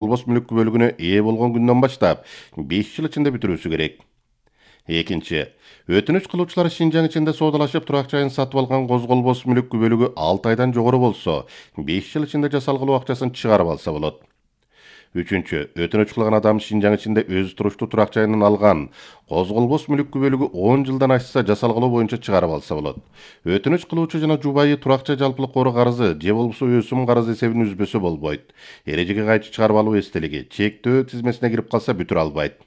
болбос мүлүк бөлүгүнө ээ болгон күндөн баштап 5 жыл ичинде бүтүрүүсү керек. Экинчи, өтүнүч кылуучулар Шинжаң ичинде соодалашып турак жайын сатып алган козголбос мүлүк бөлүгү 6 айдан жогору болсо, 5 жыл ичинде жасалгылоо акчасын чыгарып алса болот. Үчүнчү, өтүнүч кылган адам Шинжаң ичинде өз туруштуу турак жайынан алган козголбос мүлүк бөлүгү 10 жылдан ашса жасалгылоо боюнча чыгарып алса болот. Өтүнүч кылуучу жана жубайы турак жай жалпылык кору карызы же болбосо өсүм карызы эсебин үзбөсө болбойт. Эрежеге кайчы чыгарып алуу эстелиги чектөө тизмесине кирип калса бүтүрө албайт.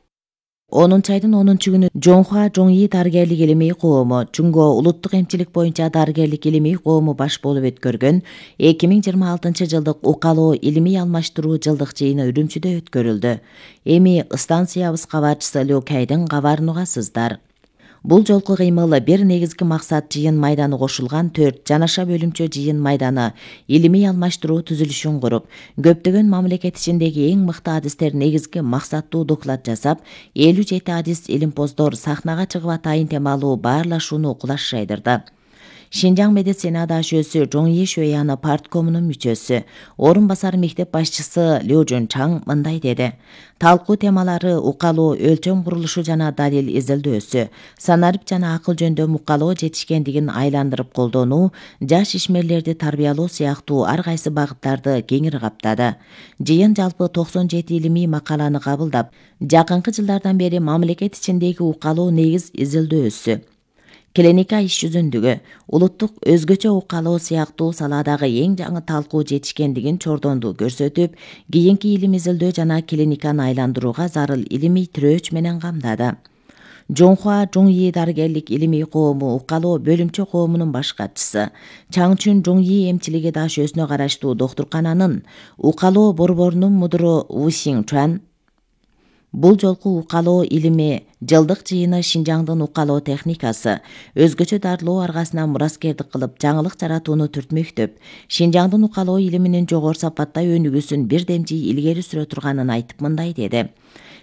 10 айдын 10-күнү Жоңхуа Жоңи дарыгерлик илимий коому Чуңго улуттук эмчилик боюнча дарыгерлик илимий коому баш болуп өткөргөн 2026-жылдык укалоо илимий алмаштыруу жылдык жыйыны Үрүмчүдө өткөрүлдү. Эми станциябыз кабарчысы Люкайдын кабарын угасыздар. Бул жолку кыймыл бир негизги максат жыйын майданы кошулган 4 жанаша бөлүмчө жыйын майданы илимий алмаштыруу түзүлүшүн куруп, көптөгөн мамлекет ичиндеги эң мыкты адистер негизги максаттуу доклад жасап, 57 адис илимпоздор сахнага чыгып атайын темалуу баарлашууну кулаш жайдырды. Шинжаң медицина дашөөсү Жоңи Шөяны парткомунун мүчөсү, орун басар мектеп башчысы Лю Жунчаң мындай деди. Талкуу темалары укалоо өлчөм курулушу жана далил изилдөөсү, санарип жана акыл жөндөм укалоо жетишкендигин айландырып колдонуу, жаш ишмерлерди тарбиялоо сыяктуу ар кайсы багыттарды кеңири каптады. Жыйын жалпы 97 илимий макаланы кабылдап, жакынкы жылдардан бери мамлекет ичиндеги укалоо негиз изилдөөсү, клиника иш жүзүндүгү, улуттук өзгөчө укалоо сыяктуу салаадагы эң жаңы талкуу жетишкендигин чордонду көрсөтүп, кийинки илим изилдөө жана клиниканы айландырууга зарыл илимий тирөөч менен камдады. Жоңхуа Жоңи дарыгерлик илимий коому укалоо бөлүмчө коомунун баш катчысы, Чаңчүн Жоңи эмчилиги дашөөсүнө караштуу доктуркананын укалоо борборунун мудуру Вусиң Чуан бул жолку укалоо илими жылдык жыйыны Шинжаңдын укалоо техникасы, өзгөчө дарылоо аргасына мураскердик кылып жаңылык жаратууну түртмөктөп, Шинжаңдын укалоо илиминин жогору сапатта өнүгүүсүн бирдемчи илгери сүрө турганын айтып мындай деди.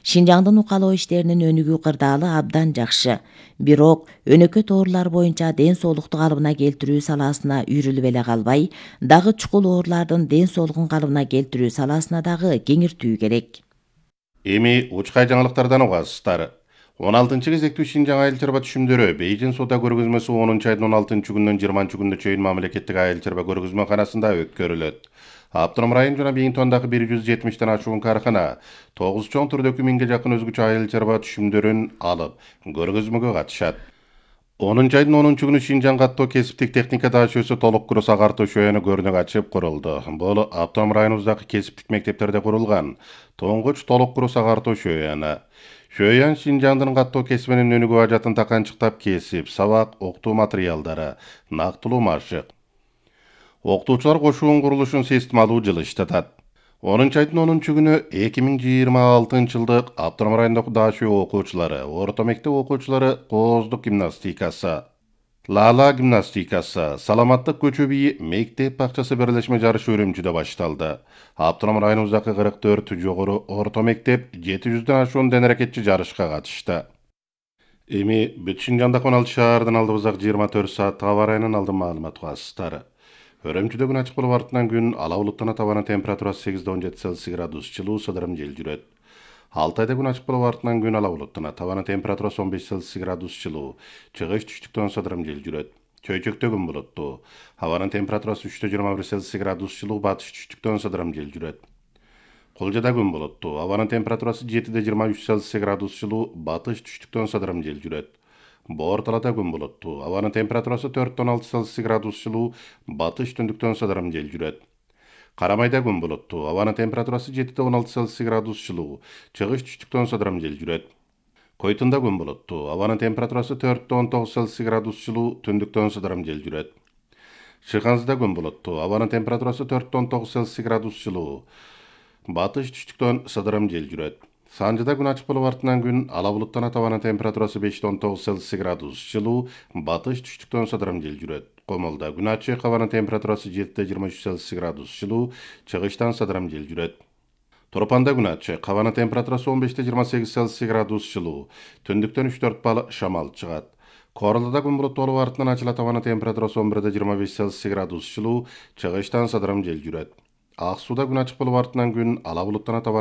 Шинжаңдын укалоо иштеринин өнүгүү кырдаалы абдан жакшы. Бирок өнөкөт оорулар боюнча ден соолукту калыбына келтирүү саласына үйрүлүп эле калбай, дагы чукул оорулардын ден соолугун калыбына келтирүү саласына дагы кеңиртүү керек. Эми учкай жаңылыктардан угасыздар. 16 кезектүү Шинжаң айыл чарба түшүмдөрү Бейжин соода көргөзмөсү 10-айдын 16-күнүнөн 20-күнүнө чейин мамлекеттик айыл чарба көргөзмөканасында өткөрүлөт. Автоном район жана Бейинтондагы 170 ашуун каркана 9 чоң түрдөгү 1000ге жакын өзгөчө айыл чарба түшүмдөрүн алып, көргөзмөгө катышат. 10-айдын 10-күнү Шинжаң каттоо кесиптик техника дашөөсү толук курус агартуу шөөнү көрүнүк ачып курулду. Бул автоном районубуздагы кесиптик мектептерде курулган тоңгуч толук курус агартуу шөөөнү. Шөөөн Шинжаңдын каттоо кесибинин өнүгүү ажатын таканчыктап кесип, сабак, окутуу материалдары, нактылуу машык. Окутуучулар кошуун курулушун системалуу жылыштатат. 10-айдын 10-күнү 2026 жылдык автоном райондогу дашөө окуучулары, орто мектеп окуучулары кооздук гимнастикасы, лала гимнастикасы, саламаттык көчө бийи мектеп бакчасы бирлешме жарышы Үрүмчүдө башталды. Автоном районубуздагы 44 жогору орто мектеп 700дөн ашуун ден аракетчи жарышка катышты. Эми бүт Шинжаңда 16 шаардын алдыбыздагы 24 сааттык аба ырайынын алдын маалымат угасыздар. Өрөмчүдө күн ачык болуп артынан күн ала булуттана табана температурасы 8-17 Цельсий градус жылуу сыдырым жел жүрөт. Алтайда күн ачык болуп артынан күн ала булуттана табана температурасы 15 Цельсий градус жылуу, чыгыш түштүктөн сыдырым жел жүрөт. Чөйчөктө күн булуттуу. Абанын температурасы 3-21 Цельсий градус жылуу, батыш түштүктөн сыдырым жел жүрөт. Кулжада күн булуттуу. Абанын температурасы 7-23 Цельсий градус жылуу, батыш түштүктөн сыдырым жел жүрөт. Боорталада күн булуттуу. Абанын температурасы 4-16 Цельсий градус жылуу, батыш түндүктөн сыдырым жел жүрөт. Карамайда күн булуттуу. Абанын температурасы 7-16 Цельсий градус жылуу, чыгыш түштүктөн сыдырым жел жүрөт. Койтунда күн булуттуу. Абанын температурасы 4-19 Цельсий градус жылуу, түндүктөн сыдырым жел жүрөт. Шыханзыда күн булуттуу. Абанын температурасы 4-19 Цельсий градус жылуу, батыш түштүктөн сыдырым жел жүрөт. Санжыда күн ачык болуп артынан күн ала булуттана табана температурасы 5-19 Цельсий градус жылуу, батыш түштүктөн сыдырым жел жүрөт. Комолдо күн ачык, абанын температурасы 7-23 Цельсий градус жылуу, чыгыштан сыдырым жел жүрөт. Торпанда күн ачык, абанын температурасы 15-28 Цельсий градус жылуу, түндүктөн 3-4 бал шамал чыгат. Королдода күн булуттуу болуп артынан ачылат, абанын температурасы 11-25 Цельсий градус жылуу, чыгыштан сыдырым жел жүрөт. Ак сууда күн ачык болуп артынан күн ала булуттана табаны